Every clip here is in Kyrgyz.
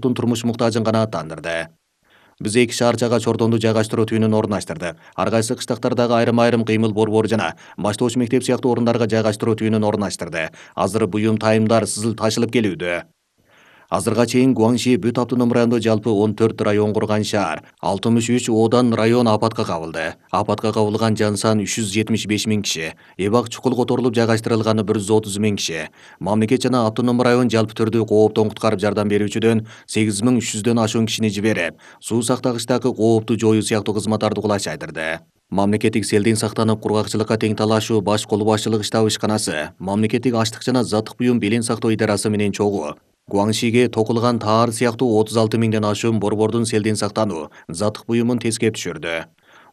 турмуш муктажын канааттандырды. Биз 2 шаарчага чордонду жайгаштыруу түйүнүн орундаштырдык. Ар кайсы кыштактардагы айрым кыймыл борбору жана баштооч мектеп сыяктуу орундарга жайгаштыруу түйүнүн орундаштырды. Азыр буюм тайымдар сызыл ташылып келүүдө. Азырга чейин Гуаңши бүт автоном райондо жалпы 14 район курган шаар, 63 оодан район апатка кабылды. Апатка кабылган жан сан 375 миң киши, эбак чукул которулуп жайгаштырылганы 130 миң киши. Мамлекет жана автоном район жалпы түрдүү кооптон куткарып жардам берүүчүдөн 8300дөн ашуун кишини жиберип, суу сактагычтагы коопту жоюу сыяктуу кызматтарды кулайчайдырды. Мамлекеттик селден сактанып кургакчылыкка тең талашуу баш кол башчылык штаб ишканасы, Мамлекеттик аштык жана заттык буюм белең сактоо идарасы менен чогуу Гуаңшиге токулган таар сыяктуу 36 миңден ашуун борбордун селден сактануу, заттык буюмун тескеп түшүрдү.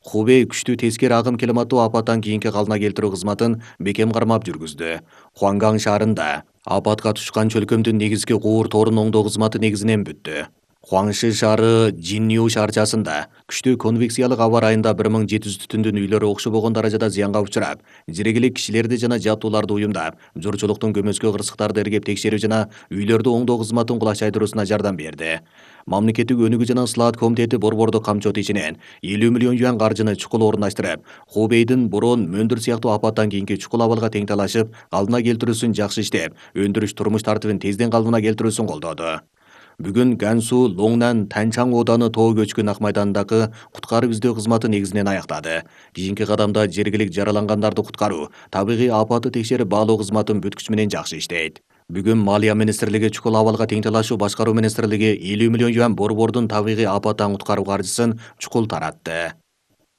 Хубей күчтүү тескери агым климаттуу апаттан кийинки калдына келтирүү кызматын бекем кармап жүргүздү. Хуанган шаарында апатка тушкан чөлкөмдүн негизги куур торун оңдоо кызматы негизинен бүттү. Хуаңши шаары Жинниу шаарчасында күчтүү конвекциялык аба ырайында 1700 түтүндүн үйлөрү окшобогон даражада зыянга учурап, жергилек кишилерди жана жабдууларды уюмдап, журчулуктун көмөскө кырсыктарды эргеп текшерүү жана үйлөрдү оңдоо кызматын кулайчайдыруусуна жардам берди. Мамлекеттик өнүгүү жана ысылаат комитети борбордук камчоо ичинен 50 миллион юан каржыны чукул орундаштырып, Хубейдин борон Мөндүр сыяктуу апаттан кийинки чукул абалга тең талашып, калдына келтирүүсүн жакшы иштеп, өндүрүш турмуш тартибин тезден калдына келтирүүсүн колдоду. Бүгүн Гансу Лоңнан Танчаң ооданы Тоо көчкүн ак майданындагы куткарып издөө кызматы негизинен аяктады. Кийинки кадамда жергилик жаралангандарды куткаруу, табигый апатты текшерип баалоо кызматын бүт күч менен жакшы иштейт. Бүгүн Малия министрлиги чукул абалга тең талашуу башкаруу министрлиги 50 миллион юан борбордун табигый апаттан куткаруу каржысын чукул таратты.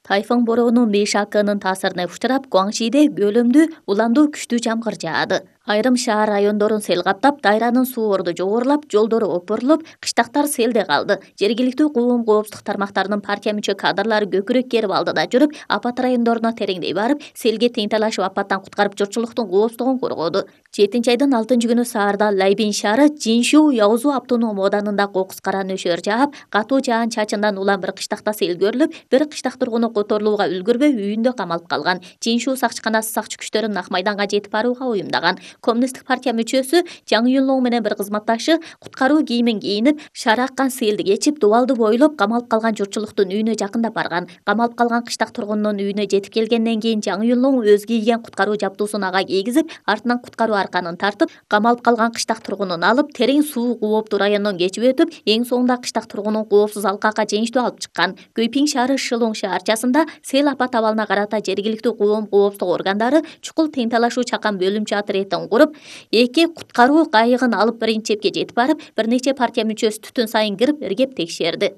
Тайфун бороону Мейшакынын таасирине учурап, Гуаңшиде бөлүмдүү уламдуу күчтүү жамгыр жаады. Айрым шаар райондорун сел каптап, дайранын суу орду жогорулап, жолдору опурулуп, кыштактар селде калды. Жергиликтүү коопсуздук тармактарынын партия мүчө кадрлары көкүрөк керип алдыда жүрүп, апат райондоруна тереңдей барып, селге тең талашып апаттан куткарып журтчулуктун коопсуздугун коргоду. 7-айдын 6-күнү саарда Лайбин шаары Жиншу Яузу автоном ооданында кокус кара нөшөр жаап, катуу жаан чачындан улам бир кыштакта сел көрүлүп, бир кыштак тургуну которулууга үлгүрбөй үйүндө камалып калган. Жиншу сакчыканасы сакчы күчтөрүн ак майданга жетип барууга уюмдаган. Коммунисттик партия мүчөсү Жаң Юнлоң менен бир кызматташы куткаруу кийимин кийинип, шаар аккан селди кечип, дубалды бойлоп камалып калган журтчулуктун үйүнө жакындап барган. Камалып калган кыштак тургунунун үйүнө жетип келгенден кийин Жаң Юнлоң өз кийген куткаруу жабдуусун ага кийгизип, артынан куткаруу арканын тартып, камалып калган кыштак тургунун алып, терең суу кооптуу райондон кечип өтүп, эң соңунда кыштак тургунун коопсуз алкакка жеңиштүү алып чыккан. Гөйпиң шаары Шылоң шаарчасында сел апат абалына карата жергиликтүү коопсуздук органдары чукул тең талашуу чакан бөлүмчө отрядын куруп, 2 куткаруу кайыгын алып биринчи чепке жетип барып, бир нече партия мүчөсү түтүн сайын кирип, эргеп текшерди.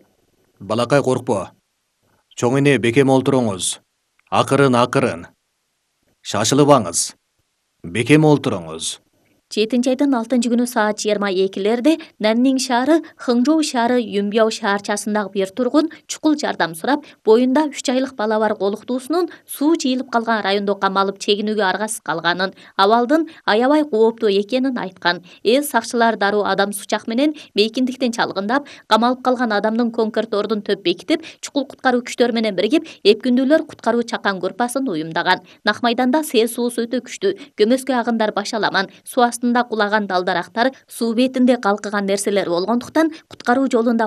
Балакай коркпо. Чоң эне бекем олтуруңуз. Акырын. Шашылбаңыз. Бекем олтуруңуз. 7-айдын 6-күнү саат 22-лерде Наннин шаары Хыңжоу шаары Юмбяо шаарчасындагы бир тургун чукул жардам сурап, боюнда 3 айлык бала бар колуктуусунун суу жыйылып калган райондо камалып чегинүүгө аргасыз калганын, абалдын аябай кооптуу экенин айткан. Сакчылар дароо адам сучак менен мейкиндиктен чалгындап, камалып калган адамдын конкордордун төп бекитип, чукул куткаруу күчтөрү менен биригип, эпкүндүүлөр куткаруу чакан группасын уюмдаган. Нак майданда сел суусу өтө күчтүү, көмөскө агымдар башаламан, суу астында кулаган дал-дарактар, суу бетинде калкыган нерселер болгондуктан куткаруу жолунда